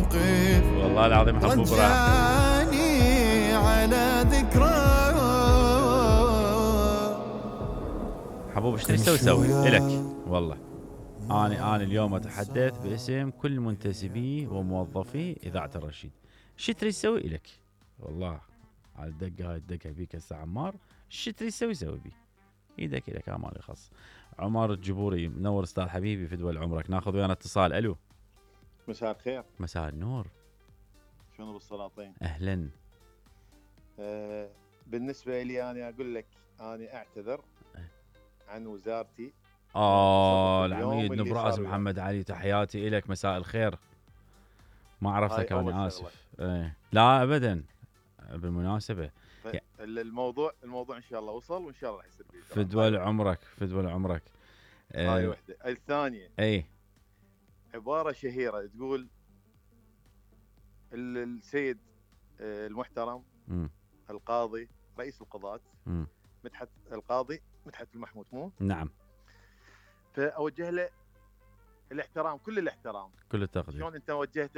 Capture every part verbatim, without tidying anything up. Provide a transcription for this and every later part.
موقف والله العظيم حبوب راح رجعني على ذكرى. حبوب ايش تبي تسوي سوي الك والله. أنا أنا اليوم أتحدث باسم كل منتسبي وموظفي إذاعة الرشيد. شو تريد تسوي إلك والله على الدقة هاي الدقة بيك هسه عمار. شو تريد تسوي سوي بي إيدك إلك مالي خاص. عمر الجبوري منور أستاذ حبيبي في دول عمرك. ناخذ ويانا اتصال. ألو مساء الخير. مساء النور. شلون بالسلاطين؟ أهلا. أه بالنسبة لي أنا أقول لك أنا أعتذر عن وزارتي. آه العميد نبراس محمد علي تحياتي إلك. مساء الخير. ما عرفتك أنا آسف. ايه لا أبدا بالمناسبة الموضوع الموضوع إن شاء الله وصل وإن شاء الله راح يصير في دول عمرك في دول عمرك. هاي آه وحدة. الثانية اي عبارة شهيرة تقول السيد المحترم م. القاضي رئيس القضاة م. مدحت القاضي مدحت المحمود مو نعم. فأوجه له الاحترام كل الاحترام كل التقدير. شلون انت وجهت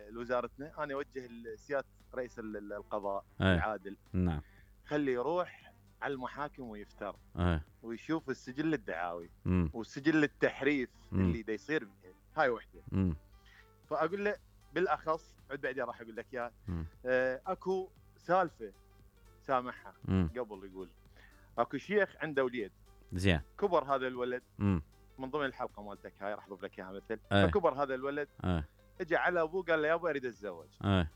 لوزارتنا انا اوجه لسياده رئيس القضاء أيه. العادل. نعم. خلي يروح على المحاكم ويفتر أيه. ويشوف السجل الدعاوي م. والسجل التحريف م. اللي دا يصير بيه. هاي وحده. م. فاقول له بالاخص عد بعدين راح اقول لك اياها. آه اكو سالفه سامحها م. قبل يقول اكو شيخ عنده وليد زين كبر هذا الولد م. من ضمن الحلقه مالتك هاي راح اضيف لك اياها مثل. أيه. فكبر هذا الولد أيه. اجى على ابوه قال له يا ابو اريد اتزوج. أيه.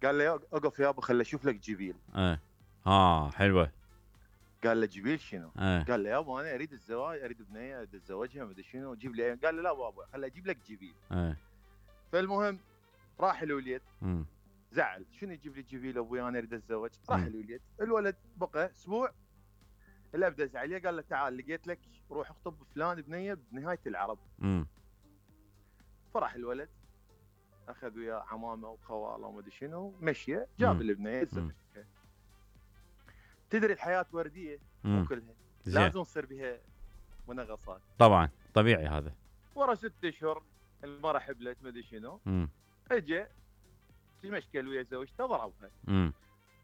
قال له اقف يا ابو خلي اشوف لك جبيل. ايه اه حلوه. قال له جبيل شنو؟ أيه. قال له يا ابو انا اريد الزواج اريد بنيه اريد اتزوجها ما ادري شنو جيب لي. قال له لا ابو ابو خلي اجيب لك جبيل. أيه. فالمهم راح الوليد م. زعل شنو يجيب لي جبيل ابوي انا اريد اتزوج. راح الوليد الولد بقى اسبوع الاب دز عليه قال له تعال لقيت لك روح اخطب فلان بنيه بنهايه العرب. م. فرح الولد اخذ وياه عمامه وخواله وما ادري شنو مشيه جاب البنيه زوجها. تدري الحياه ورديه مو كلها لازم تصير بها منغصات. طبعا طبيعي هذا. ورا ست اشهر المراه حبلت ما ادري شنو اجى في مشكله ويا زوجته ضربها. امم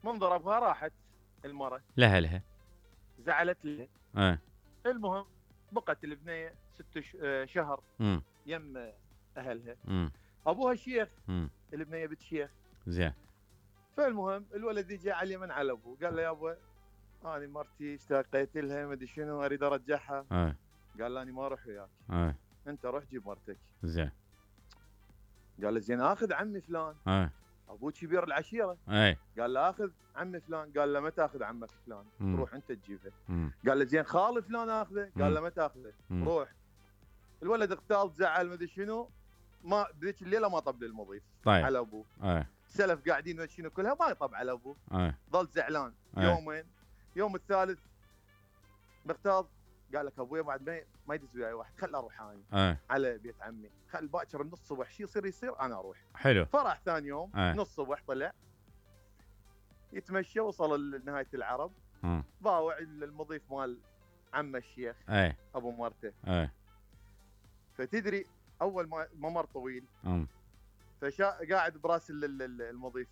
من ضربها راحت المراه لها لها زعلت لها. اه المهم بقت البنيه ست شهر امم يم اهلها. امم ابوها شيخ. امم البنيه بنت شيخ. زين. فالمهم الولد يجي على اليمن على ابوه قال له يا ابو انا مرتي اشتاقيت لها ما ادري شنو اريد ارجعها. اه قال له انا ما اروح وياك. اه انت روح جيب مرتك. زين. قال له زين اخذ عمي فلان. اه ابوه كبير العشيره. اي قال له اخذ عمي فلان. قال له ما تاخذ عمك فلان مم. روح انت تجيبه. مم. قال له زين خال فلان اخذه. قال له ما تاخذه روح. الولد اغتاظ زعل ما ادري شنو ما بذيك الليله ما طب للمضيف. طيب. على ابوه. اي سلف قاعدين ما شنو كلها ما يطب على ابوه. اي ظل زعلان. أي. يومين يوم الثالث مغتاظ قال لك ابويا بعد ما ما يدز وياي واحد خل اروح انا أي. على بيت عمي خل باكر من الصبح شي يصير يصير انا اروح. حلو. فرح ثاني يوم أي. نص الصبح طلع يتمشى وصل لنهايه العرب. امم ضاوع المضيف مال عم الشيخ. اي ابو مرته. اي فتدري اول ما ممر طويل امم فشا قاعد براس المضيف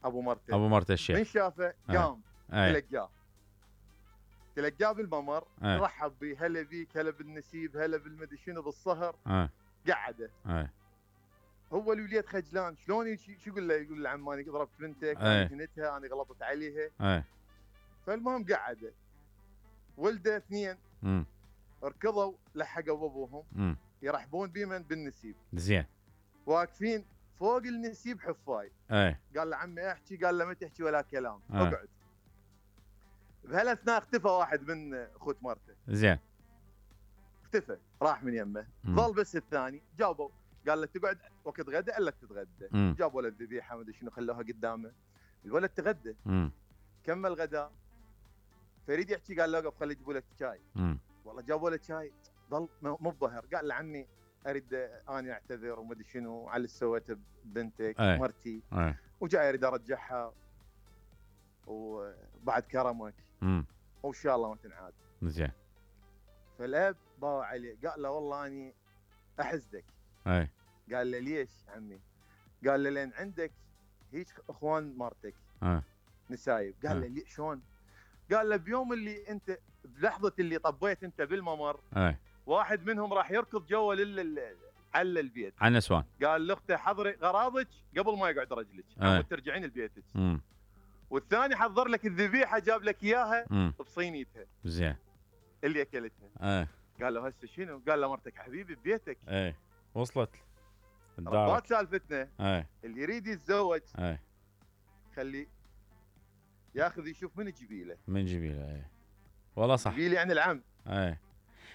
ابو مرته. ابو مرته الشيخ من شافه قام أي. تلقاه تلقاه بالممر. أي. رحب بيه هلا بيك هلا بالنسيب هلا بالمدري شنو بالصهر. أي. قعده. اي هو الوليد خجلان شلون شو يقول له يقول له عماني ضربت بنتك انا هنتها انا غلطت عليها. اي فالمهم قعده ولده اثنين امم ركضوا لحقوا ابوهم امم يرحبون بمن بالنسيب. زين. واقفين فوق النسيب حفاي. اي قال له عمي احكي قال له ما تحكي ولا كلام. أي. اقعد. بهالاثناء اختفى واحد من اخوت مرته. زين. اختفى راح من يمه. ظل بس الثاني جابوا قال له تقعد وقت غدا الا تتغدى. جابوا له الذبيحه ما ادري شنو خلوها قدامه. الولد تغدى. امم كمل غداء. فريد يحكي قال له اوقف خلي يجيبوا لك شاي. امم والله جابوا له شاي ظل مو بظهر. قال له عمي اريد اني اعتذر وما ادري شنو على اللي سويته ببنتك أي. مرتي. أي. وجاي اريد ارجعها وبعد كرمك امم وان شاء الله ما تنعاد. زين. فالاب باوع عليه قال له والله اني احسدك. اي قال له ليش عمي؟ قال له لان عندك هيك اخوان مرتك اه نسايب. قال له ليه شلون؟ قال له بيوم اللي انت بلحظه اللي طبيت انت بالممر اه واحد منهم راح يركض جوا لل على البيت على النسوان. قال لاخته حضري غراضك قبل ما يقعد رجلك اه. ترجعين لبيتك. امم والثاني حضر لك الذبيحه جاب لك اياها مم. بصينيتها زين اللي اكلتها. اه. قال له هسه شنو؟ قال له مرتك حبيبي ببيتك. ايه وصلت رباط سالفتنا. ايه. اللي يريد يتزوج ايه خلي ياخذ يشوف من جبيله. من جبيله. ايه والله صح. جبيله يعني العم. ايه.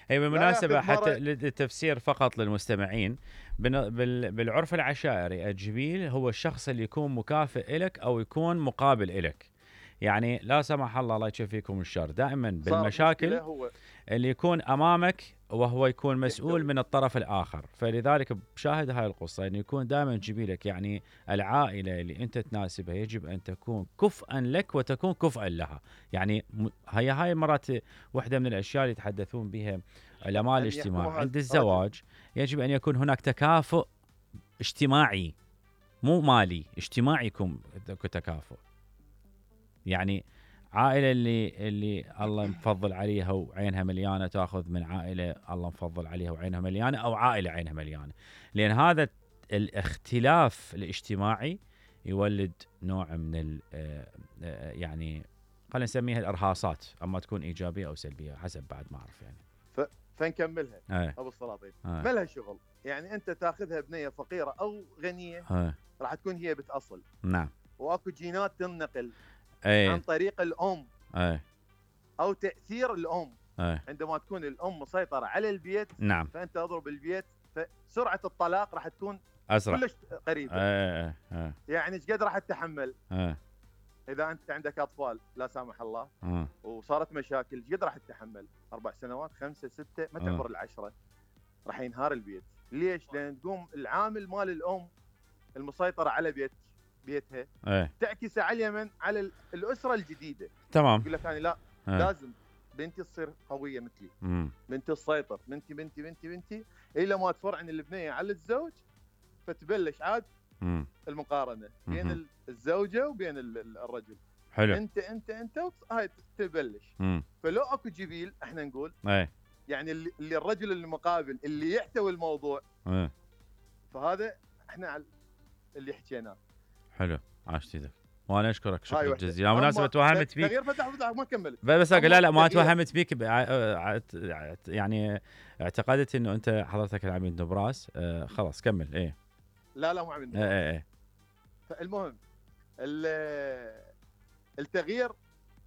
هي بالمناسبة حتى للتفسير فقط للمستمعين، بالعرف العشائري الجبيل هو الشخص اللي يكون مكافئ إلك أو يكون مقابل إلك. يعني لا سمح الله الله يشفيكم الشر، دائما بالمشاكل اللي يكون أمامك وهو يكون مسؤول من الطرف الآخر. فلذلك بشاهد هاي القصة أنه يكون دائما جبيلك، يعني العائلة اللي أنت تناسبها يجب أن تكون كفءا لك وتكون كفءا لها. يعني هي هاي مرات واحدة من الأشياء اللي يتحدثون بها علماء الاجتماع عند الزواج، يجب أن يكون هناك تكافؤ اجتماعي مو مالي، اجتماعي يكون تكافؤ. يعني عائلة اللي اللي الله مفضل عليها وعينها مليانة تأخذ من عائلة الله مفضل عليها وعينها مليانة، أو عائلة عينها مليانة، لأن هذا الاختلاف الاجتماعي يولد نوع من ال يعني خلينا نسميها الإرهاصات، أما تكون إيجابية أو سلبية حسب بعد ما أعرف يعني. فنكملها أي. أبو السلاطين ما لها شغل، يعني أنت تأخذها بنية فقيرة أو غنية أي. راح تكون هي بتأصل. نعم. وأكو جينات تنقل أي. عن طريق الأم أي. أو تأثير الأم. أي. عندما تكون الأم مسيطرة على البيت نعم. فأنت أضرب البيت، فسرعة الطلاق راح تكون أسرع كلش قريبة. أي. أي. يعني ايش قد راح تتحمل؟ أي. إذا أنت عندك أطفال لا سامح الله أي. وصارت مشاكل ايش قد راح تتحمل؟ أربع سنوات خمسة ستة ما تعبر العشرة راح ينهار البيت. ليش؟ لأن تقوم العامل مال الأم المسيطرة على بيت بيتها أي. تعكس على اليمن على الأسرة الجديدة. تمام. يقول لك أنا لا أي. لازم بنتي تصير قوية مثلي. مم. بنتي تسيطر، بنتي بنتي بنتي بنتي إلى ما تفرعن البنية على الزوج، فتبلش عاد مم. المقارنة بين مم. الزوجة وبين الرجل. حلو. انت انت انت هاي تبلش. مم. فلو اكو جبيل احنا نقول اي. يعني اللي, اللي الرجل المقابل اللي يحتوي الموضوع اي. فهذا احنا اللي حكيناه. حلو عاشت ايدك وانا اشكرك شكرا جزيلا. مناسبة توهمت بيك تغيير فتح فتح ما كملت بس لا لا ما توهمت بيك يعني اعتقدت انه انت حضرتك العميد نبراس. آه خلاص كمل. ايه لا لا مو عميد نبراس. ايه ايه. فالمهم التغيير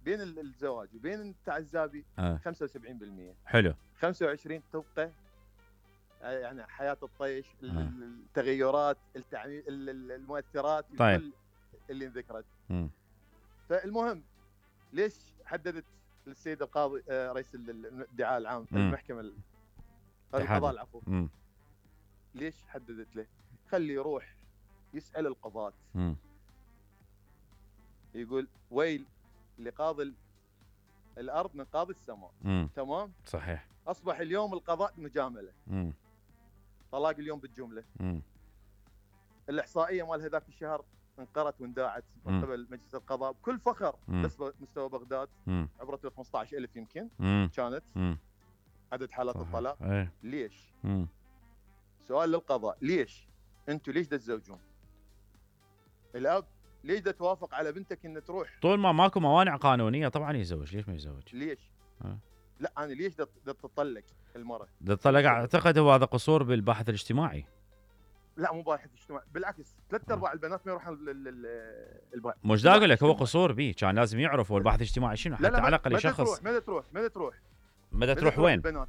بين الزواج وبين التعزابي آه. خمسة وسبعين بالمئة. حلو. خمسة وعشرين تبقى يعني حياة الطيش. آه. التغيرات التعميم المؤثرات. طيب. كل اللي ذكرت. م. فالمهم ليش حددت السيد القاضي آه رئيس الادعاء العام م. المحكمة القضاء العفو م. ليش حددت له؟ خلي يروح يسأل القضاة. م. يقول ويل لقاضي الأرض من قاضي السماء. م. تمام؟ صحيح. أصبح اليوم القضاء مجاملة. م. طلاق اليوم بالجملة. م. الإحصائية مال هذاك الشهر انقرت وانداعت من قبل مجلس القضاء بكل فخر. بس مستوى بغداد عبرت خمسة عشر ألف يمكن م. كانت م. عدد حالات صحيح. الطلاق. ايه. ليش؟ م. سؤال للقضاء ليش؟ أنتوا ليش دا تزوجون؟ الأب ليش دا توافق على بنتك ان تروح؟ طول ما ماكو موانع قانونيه طبعا يزوج. ليش ما يزوج؟ ليش؟ أه؟ لا انا ليش دا تطلق المراه؟ دا تطلق اعتقد هو هذا قصور بالبحث الاجتماعي. لا مو باحث اجتماعي بالعكس ثلاث ارباع البنات ما يروحون البحث. مش دا اقول لك هو قصور به كان لازم يعرف هو البحث الاجتماعي شنو حتى على الاقل يشخص. ماذا تروح ماذا تروح ماذا تروح وين؟ البنات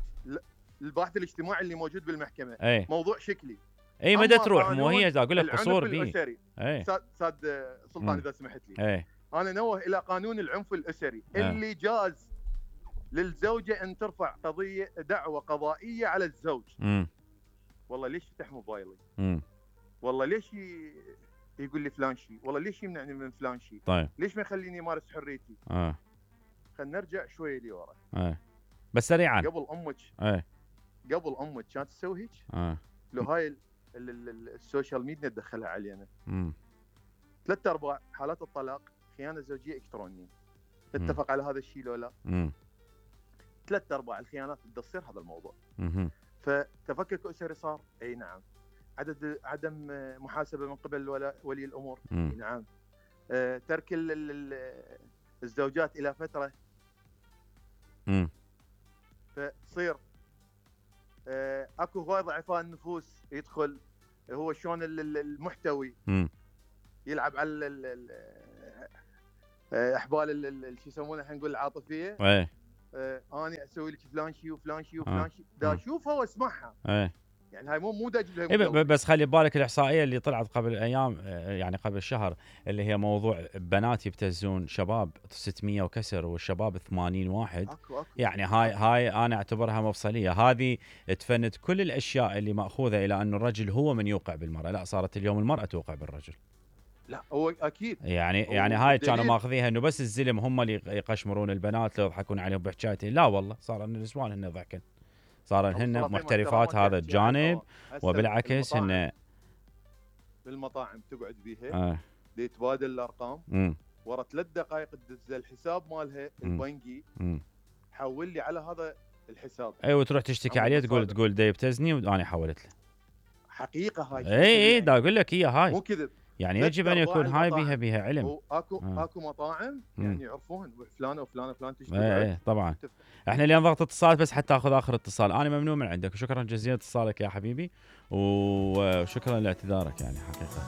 البحث الاجتماعي اللي موجود بالمحكمه. ايه؟ موضوع شكلي. اي مدى تروح مو هي اقول لك قصور به. اي ساد سلطان اذا سمحت لي. اي انا نوه الى قانون العنف الاسري أي. اللي جاز للزوجه ان ترفع قضيه دعوه قضائيه على الزوج. امم والله ليش يفتح موبايلي؟ امم والله ليش ي... يقول لي فلان شيء؟ والله ليش يمنعني من فلان شيء؟ طيب ليش ما يخليني امارس حريتي؟ اه خلينا نرجع شويه لورا. اه بس سريعا. قبل امك ايه قبل امك كانت تسوي هيك؟ اه لو هاي ال- ال- السوشيال ميديا تدخلها علينا. امم ثلاث ارباع حالات الطلاق خيانه زوجيه الكترونيه. نتفق على هذا الشيء لو لا؟ امم ثلاث ارباع الخيانات بدها تصير هذا الموضوع. امم فتفكك اسري صار، اي نعم. عدد عدم محاسبه من قبل ولا ولي الامور، اي امم نعم. آه، ترك ال- ال- ال- الزوجات الى فتره، امم فتصير آه، اكو هواي ضعفاء النفوس يدخل هو شلون ال- ال- المحتوي امم يلعب على ال- ال- ال- آه، احبال ال- ال- ال- شو يسمونها، خلينا نقول العاطفيه. ايه آه، انا اسوي لك فلان شيء وفلان شيء آه. وفلان شيء، دا آه. اشوفها واسمعها. ايه يعني هاي مو مو دا اجيب لها إيه، ب- مدور. ب- بس خلي ببالك الاحصائيه اللي طلعت قبل ايام، آه، يعني قبل شهر، اللي هي موضوع بنات يبتزون شباب ستمية وكسر والشباب ثمانين واحد. اكو اكو يعني هاي هاي انا اعتبرها مفصليه، هذه تفند كل الاشياء اللي ماخوذه الى انه الرجل هو من يوقع بالمراه، لا صارت اليوم المراه توقع بالرجل. لا هو اكيد. يعني هو يعني هاي كانوا الدليل- ماخذيها انه بس الزلم هم اللي يقشمرون البنات، لو يضحكون عليهم بحكايتين، لا والله صار ان النسوان هن ضحكن، صار أبو هن الطرفين محترفات محترمات هذا تحكي عنه. الجانب، هسه وبالعكس بالمطاعم- هن بالمطاعم تقعد بيها آه. دي يتبادل الارقام، مم. ورا ثلاث دقائق تدز الحساب مالها مم. البنكي، مم. حول لي على هذا الحساب. ايوه تروح تشتكي أما عليه، تقول المصادر. تقول دا يبتزني وانا حولت له. حقيقه هاي. اي اي دا اقول لك هي هاي، مو كذب. يعني ثلاث يجب ان أرباع يكون هاي المطاعم. بيها بيها علم. واكو آه. اكو مطاعم مم. يعني يعرفون فلانه وفلانه وفلان تشتغل. ايه ايه طبعا. احنا اليوم ضغط اتصالات بس حتى اخذ اخر اتصال، انا ممنون من عندك وشكرا جزيلا اتصالك يا حبيبي، وشكرا لاعتذارك يعني حقيقه.